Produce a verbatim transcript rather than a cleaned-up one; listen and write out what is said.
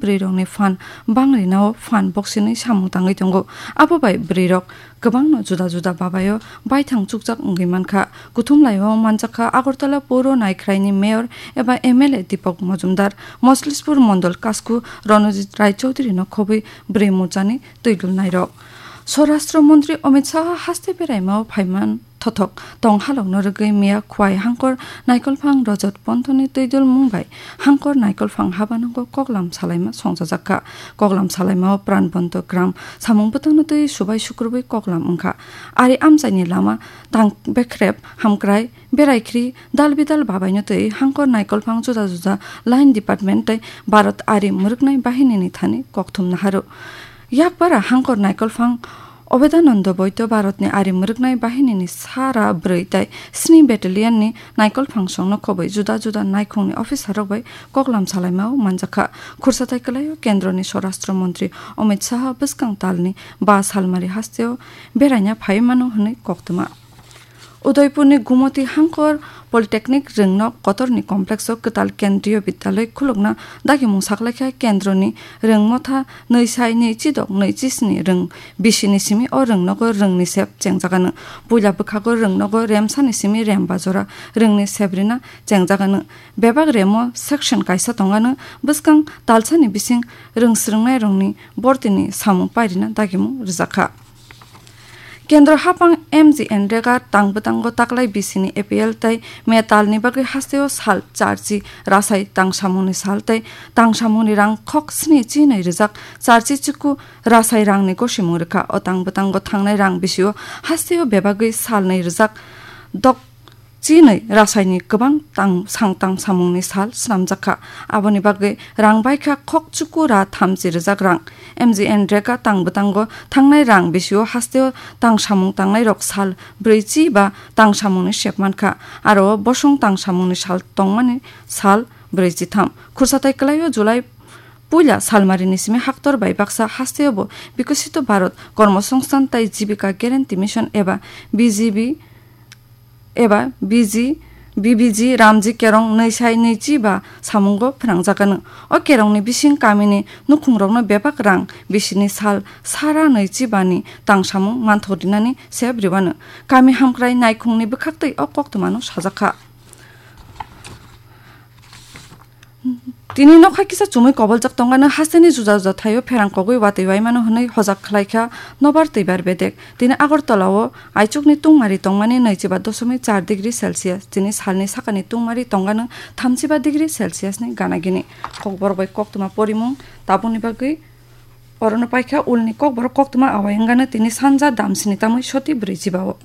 bwrwirokni phan bangrinao phan boksini samung tangwi tongo. Abo bai bwrwirok kwbangno juda juda babaio baithang chukjak wngwi mankha. Kuthumlaio manjakha Agartala Puro Naikhraini Mayor eba M L A Deepak Majumdar, Moslispur Mondol Kasku Ronojit Rai Chowdhury no khobwi bwrwi muchani twi dulnairok. Swarashtra Montri Amit Shah haste beraimao phaiman thothok tong halokno rwgwi miya Khwai Hangkor Naikolphang Rajat Ponthoni twi dulmung bai Hangkor Naikolphang habanongo koklam salaima songchajakha. Koklam salaimao Pranbonto Gram samung bwtangno twi subai sukrubwi koklam wngkha. Ari amchaini lama tang bekrep hamkrai, beraikhri, dal bidal babaino twi Hangkor Naikolphang juda juda line department tei Bharat Ari Mwrwknai Bahinini thani kokthum naharu. Yakpara Hangkor Naikolphang Obedananda Boito Bharatni Ari Mwrwknai Bahinini sara bwrwi tei sni battalionni naikolphang songno khobwi juda juda naikhungni officerrok bai koklam salaimao manjakha. Khursa tai kwlaio Kendroni Swarashtra Montri Amit Shah bwskang talni ba salmari hasteo beraina phaiwi mano hwnwi koktwma. Udaipurni Gumoti Hangkor Polytechnic Rwngnok Kotorni Complexo kwtal Kendriyo Bidyaloi khulukna dagimung saklaikha. Kendroni Rwngmotha nwi sai nwi chidok nwi chisni rwng bisini simi o rwngnogo rwngni sep chengjaganw. Puila bwkhago rwngnogo remsani simi remba jora rwngni sep rina chengjaganw. Bebak remo section kaisa tongganw, bwskang talsani bising rwngsrwngnairokni bortini samung pairina dagimung rwjakha. Kendro hapang M G N Rega tang bwtango taklai bisini A P L tei metalni bagwi hasteo sal charchi rasai tangsamungni sal tei tangsamungni rang khok sni chinwi rijak charchi chuku rasai rangni gosimung rwkha. O tang bwtango thangnai rang bisio hasteo bebagwi salnwi rijak dok chinwi rasaini kwbang tang, sang tang samungni sal snamjakha. Aboni bagwi rang baikha khok chuku ra thamchi rijak rang. M G N Rega tang bwtango thangnai rang bisio hasteo tang samung tangnairok sal brwichi ba tang samungni sep mankha. Aro bosong tang samungni sal tongmani sal brwichi tham. Khursa tai kwlaio July puila salmarini simi haktor bai baksa hasteo bo Bikosito Bharat Kormosongsthan tai Jibika Guarantee Mission eba B G B eba B G, B B G Ramji Kerong nwi sai nwi chi ba samungo phnangjakano. O kerongni bising kamini nukhungrokno bebak rang bisini sal sara nwi chi bani tang samung manthok rinani sep ribano. Kami hamkrai naikhungni bwkhaktwi o koktwmano sajakha. Tini nokha kisa chumui koboljak tongmano hasteni juda juda thaio pherang kogwi watwi waimano hwnwi hojak khlaikha nobar twibar bedek. Tini Agartala o aichukni tungmari tongmani nwichiba dosomik char degree Celsius, tini salni sakani tungmari tongmano thamchiba degree Celsius ni gana gini. Kokborok bai koktwma porimung tabukni bagwi orono paikha ulni kokborok koktwma awai wngano tini sanja damsini tamwi soti brwichiba o.